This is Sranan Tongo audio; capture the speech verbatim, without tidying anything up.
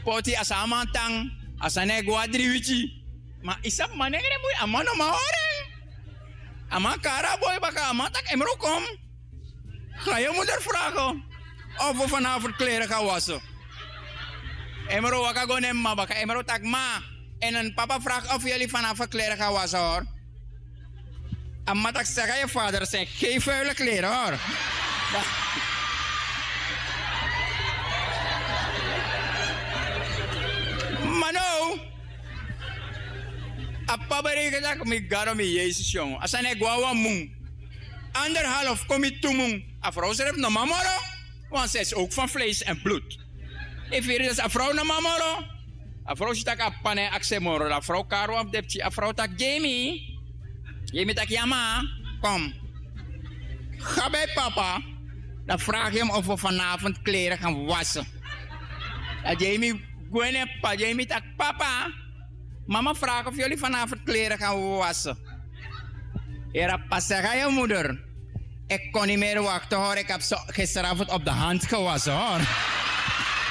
poti a san a man tan. A sani e go a dri wiki. Ma yu sabi manengre mui a man no man hori en. A man kari a boi baka a man taki emro kon. Ga yu muder frage of wi fanafu klere ga wasi. Emro waka go na en mama baka emro taki ma, en en papa frage of yuli fanafu klere ga wasi hori. A mama taki sega yu fader seni gei fuile klere hori. Ma no. A papa bereken taki mi gado mi yesus yongu a sani e go na wan mun. Anderhalf kon mi tu mun. A vrouw srefi no man moro. Want sis ook van vlees en bloed. Efu yu ri disi a vrouw no man moro. A vrouw si taki a papa no e aksi en moro dan a vrouw kari wan fu den pikin a vrouw taki gei mi. Gei mi taki ya mama. Kom. Ga bij papa. Dan vraag yu hem of wi vanavond klere gan wasi. Dan gei mi gwe na en papa gei mi taki papa. Mama vraag of yuli vanavond klere gan wasi. Heri a papa segi a yu muder. Iki kon ni meri wakti hori iki abi so gisteravond op de hand gewasi hori.